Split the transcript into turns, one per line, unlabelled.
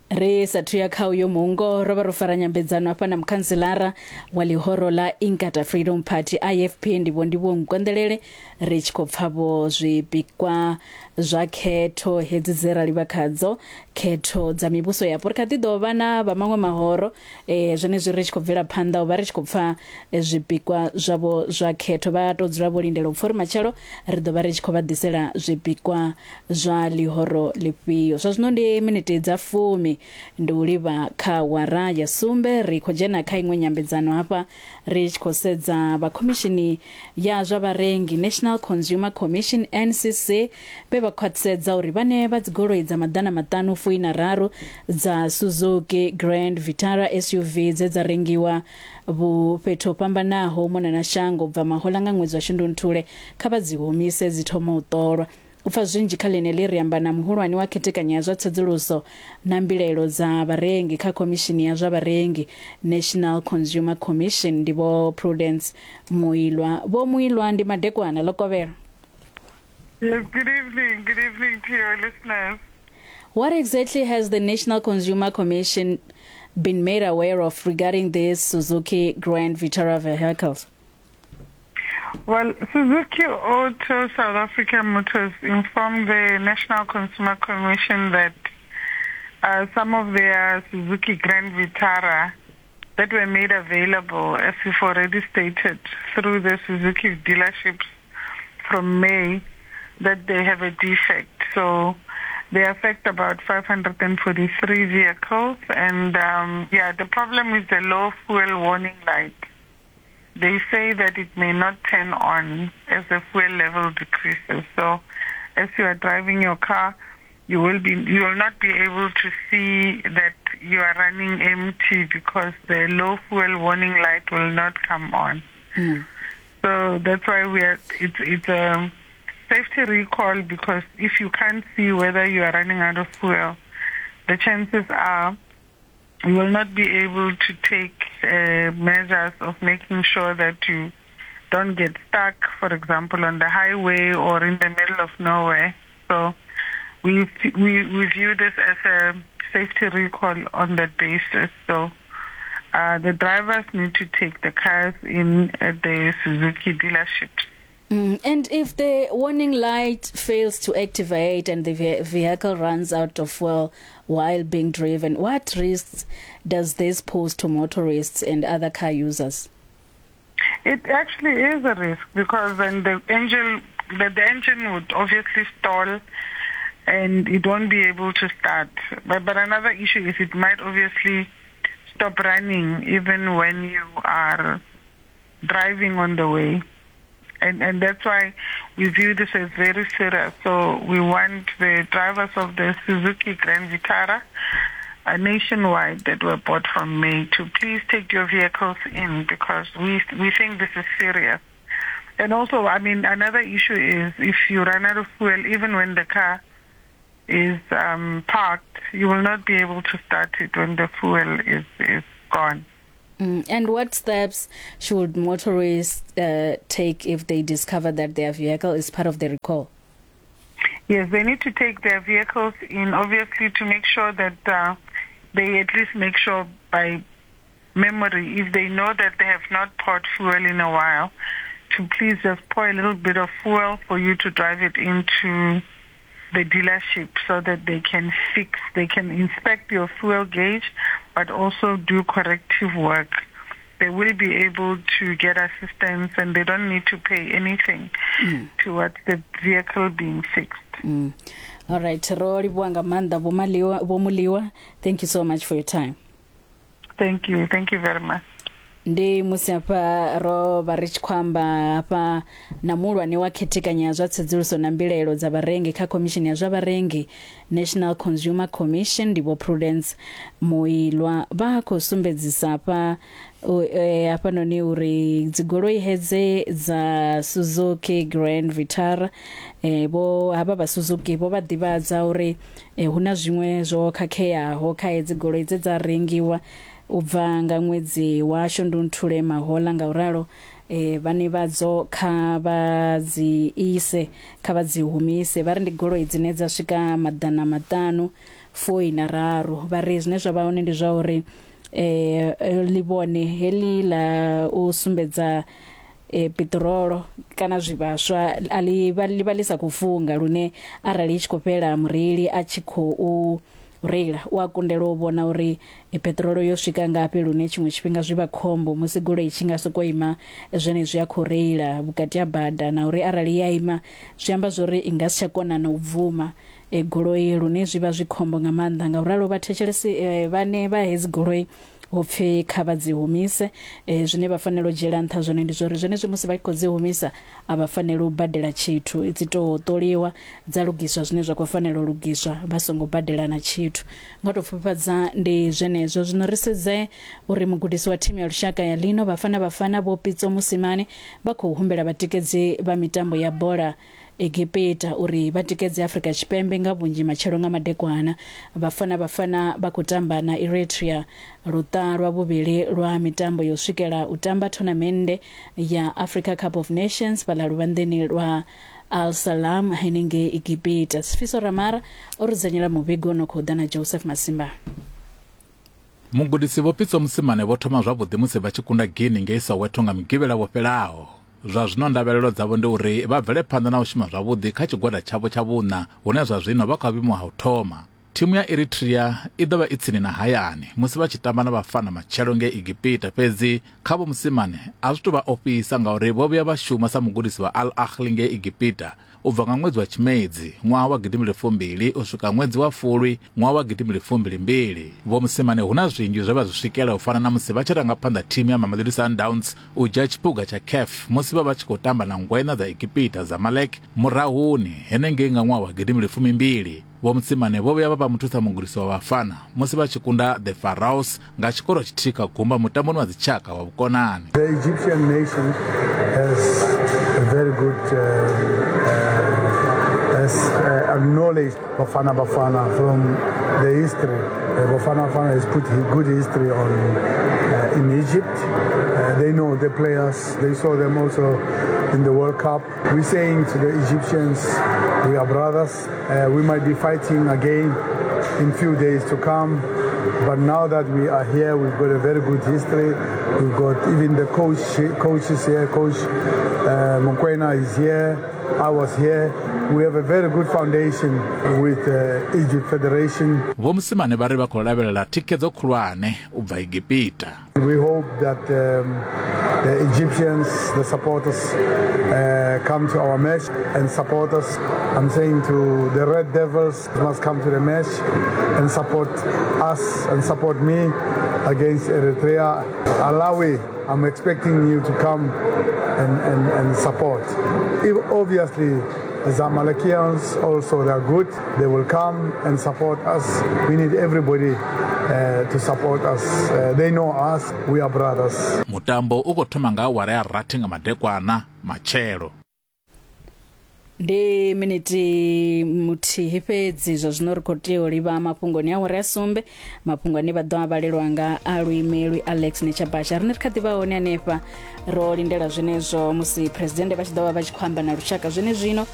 Ri sathu ya kha uyo muungo ro vha ro fara nyambedzano hafha na mukhantselara wa ḽihoro ḽa Inkatha Freedom Party IFP ndi Vho Ndivhuwo Nkonḓelele ri tshi khou pfa vho zwipikwa zwa khetho hedzi dze ra livha khadzo khetho dza mivhuso yapo. Ri kha ḓi ḓo vha na vha maṅwe mahoro zwenezwi ri tshi khou bvela phanḓa u vha ri tshi khou pfa zwipikwa zwavho zwa khetho. Vha tou dzula vho lindela u pfa uri matshelo ri ḓo vha ri tshi khou vha ḓisela zwipikwa zwa ḽihoro ḽifhio. Zwa zwino ndi miniti dza fumi ndi u livha kha wara ya sumbe. Ri khou dzhena kha iṅwe nyambedzano hafha ri tshi khou sedza vha khomishini ya zwa vharengi National Consumer Commission NCC vhe vha khwaṱhisedza uri vhane vha dzigoloi dza maḓana maṱanu fuina raru dza Suzuki Grand Vitara SUV dze dza rengiwa vhu fhethu ho fhambanaho u mona na shango u bva mahoḽa nga ṅwedzi wa Shundunthule kha vha dzi humise dzi thoma u ṱolwa. U pfa zwinzhi kha ḽeneḽi ri amba na muhulwane wa khethekanyo ya zwa tsedzuluso na mbilaelo dza vharengi kha Khomishini ya zwa Vharengi, National Consumer Commission, ndi Vho Prudence Muilwa. Vho Muilwa, ndi madekwana, ḽo kovhela.
Yes, good evening. Good evening to your listeners.
What exactly has the National Consumer Commission been made aware of regarding these Suzuki Grand Vitara vehicles?
Well, Suzuki Auto South Africa Motors informed the National Consumer Commission that some of their Suzuki Grand Vitara that were made available, as we've already stated, through the Suzuki dealerships from May, that they have a defect. So they affect about 543 vehicles. And the problem is the low fuel warning light. They say that it may not turn on as the fuel level decreases. So as you are driving your car, you will not be able to see that you are running empty because the low fuel warning light will not come on. So that's why it's a safety recall, because if you can't see whether you are running out of fuel, the chances are you will not be able to take measures of making sure that you don't get stuck, for example, on the highway or in the middle of nowhere. So we view this as a safety recall on that basis. So the drivers need to take the cars in at the Suzuki dealerships.
And if the warning light fails to activate and the vehicle runs out of fuel while being driven, what risks does this pose to motorists and other car users?
It actually is a risk, because then the engine would obviously stall and it won't be able to start. But another issue is it might obviously stop running even when you are driving on the way. And that's why we view this as very serious. So we want the drivers of the Suzuki Grand Vitara nationwide that were bought from May to please take your vehicles in, because we think this is serious. And also, another issue is if you run out of fuel, even when the car is parked, you will not be able to start it when the fuel is gone.
And what steps should motorists take if they discover that their vehicle is part of the recall?
Yes, they need to take their vehicles in, obviously, to make sure that they at least make sure by memory, if they know that they have not poured fuel in a while, to please just pour a little bit of fuel for you to drive it into the dealership so that they can fix, they can inspect your fuel gauge, but also do corrective work. They will be able to get assistance and they don't need to pay anything towards the vehicle being fixed.
All right, ro livhuwa nga maanḓa, Vho Muliwa. Thank you so much for your time.
Thank you. Thank you very much.
Ndi musi hafha ro vha ri tshi khou amba hafha na muhulwane wa khethekanyo ya zwa tsedzuluso na mbilaelo dza vharengi kha Khomishini ya zwa Vharengi, National Consumer Commission, ndi Vho Prudence Muilwa. Vha khou sumbedzisa hafha hafhanoni uri dzigoloi hedze dza Suzuki Grand Vitara, vho havha vha Suzuki vho vha ḓivhadza uri hu na zwiṅwe zwo khakheaho kha hedzi goloi dze dza rengiwa u bva nga ṅwedzi wa Shundunthule mahoḽa. Ngauralo Vhane vhadzo kha vha dzi ise, kha vha dzi humise. Vha ri ndi goloi dzine dza swika 543. Vha ri zwine zwa vha hone ndi zwa uri ḽivhone heḽi ḽa u sumbedza peṱirolo kana zwivhaswa a ḽi vha ḽi vha ḽi sa khou funga, lune arali i tshi khou fhela mureili a tshi khou reila u a kundelwa u vhona uri peṱirolo yo swika ngafhi, lune tshiṅwe tshifhinga zwi vha khombo musi goloi i tshi nga soko ima zwenezwi a khou reila vhukati ha bada, na uri arali ya ima zwi amba zwori i nga si tsha kona na u bvuma goloi, lune zwi vha zwi khombo nga maanḓa. Ngauralo vhathetshelesi vhane vha hedzi goloi hu pfi kha vha dzi humise. Zwine vha fanela u dzhiela nṱha zwone ndi zwori zwenezwi musi vha tshi khou dzi humisa a vha faneli u badela tshithu, dzi tou ṱoliwa dza lugiswa zwine zwa khou fanela u lugiswa vha songo badela na tshithu. Nga tou pfufhifhadza ndi zwenezwo. Zwino ri sedze uri mugudisi wa thimu ya lushaka ya lino Bafana Bafana Vho Pitso Mosimane vha khou humbela vhatikedzi vha mitambo ya bola Egipita uri vha tikedze Afrika Tshipembe nga vhunzhi matshelo nga madekwana. Bafana Bafana vha khou tamba na Eritrea luṱa lwa vhuvhili lwa mitambo yo swikela u tamba thonamennde ya Africa Cup of Nations fhaḽa luvhanḓeni lwa Al Salam henengei Egipita. Sifiso Ramara o rudzanyela muvhigo no khou ḓa na Joseph Masimba.
Mugudisi Vho Pitso Mosimane vho thoma zwavhuḓi musi vha tshi kunda Guinea ngei Soweto nga Mugivhela wo fhelaho. Zwa zwino ndavhelelo dzavho ndi uri vha bvele phanḓa na u shuma zwavhuḓi kha tshigwada tshavho tsha vhuṋa hune zwa zwino vha kha vhuimo ha u thoma. Thimu ya Eritrea i ḓo vha i tsini na hayani musi vha tshi tamba na Bafana matshelo ngei Egipita, fhedzi kha Vho Mosimane a zwi tou vha ofhisa ngauri vho vhuya vha shuma sa mugudisi wa Al Ahly ngei Egipita u bva nga ṅwedzi wa Tshimedzi ṅwaha wa gidimbili fumbili u swika ṅwedzi wa Fulwi ṅwaha wa gidimbili fumbili mbili. Vho Mosimane hu na zwinzhi zwe vha zwi swikela u fana na musi vha tshi ranga phanḓa thimu ya Mamelodi Sundowns u dzhia tshiphuga tsha CAF musi vha vha tshi khou tamba na ngweṋa dza Egipita Zamalek murahuni henengei nga ṅwaha wa gidimbili fumimbili. Vho Mosimane vho vhuya vha vha muthusa mugudisi wa Bafana musi vha tshi kunda The Pharaohs nga tshikoro tshithihi kha gumba mutamboni wa dzitshaka wa vhukonani.
The Egyptian nation has a very good has acknowledged Bafana Bafana from the history. Bafana Bafana has put good history on in Egypt. They know the players. They saw them also in the World Cup. We're saying to the Egyptians, we are brothers. We might be fighting again in few days to come, but now that we are here, we've got a very good history. We've got even the coaches here. Coach Mokwena is here. I was here. We have a very good foundation with Egypt Federation.
Vho Mosimane vha ri vha khou lavhelela thikhedzo khulwane u bva Egipita.
We hope that the Egyptians, the supporters, come to our match and support us. I'm saying to the Red Devils must come to the match and support us and support me against Eritrea. Alawi, I'm expecting you to come and support. If obviously the Zamalekians also, they are good. They will come and support us. We need everybody to support us. They know us. We are brothers.
Mutambo u khou thoma nga awara ya rathi nga madekwana matshelo.
Ndi miniti muthihi fhedzi zwa zwino ri khou tea u livha mafhungoni a awara ya sumbe, mafhungo ane vha ḓo a vhalelwa nga aluimelwi Alex Netshabasha. Rine ri kha ḓi vha hone hanefha ro lindela zwenezwo musi presidennde vha tshi ḓo vha vha tshi khou amba na lushaka zwenezwino.